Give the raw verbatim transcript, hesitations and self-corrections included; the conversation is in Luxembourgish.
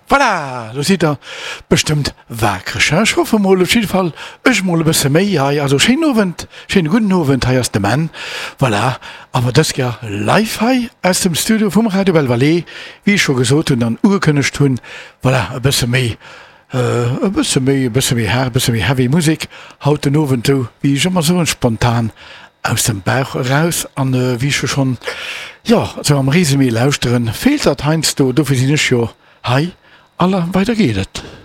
Voilà, lo sidd der bestëmmt waakreg, hein? Ech hoffe mol, op jidde Fall ech mol e bësse méi hei. Also schéinen Owend, schéine gudden Owend, hei ass de Menn, voilà, awer dës Kéier live hei aus dem Studio vum Radio Belle Vallée, wéi ech scho gesot hunn an ugekënnegt hunn, voilà, e bësse méi, e bësse méi, e bësse méi haart, e bësse méi heavy Musek haut den Owend, esou wéi ech ëmmer soen, spontan aus dem Bauch eraus. An wéi ech jo schonn, jo, esou am Résumé lauschteren, feelt dat heiansdo, dofir sinn ech jo hei. Alla, weider geet et.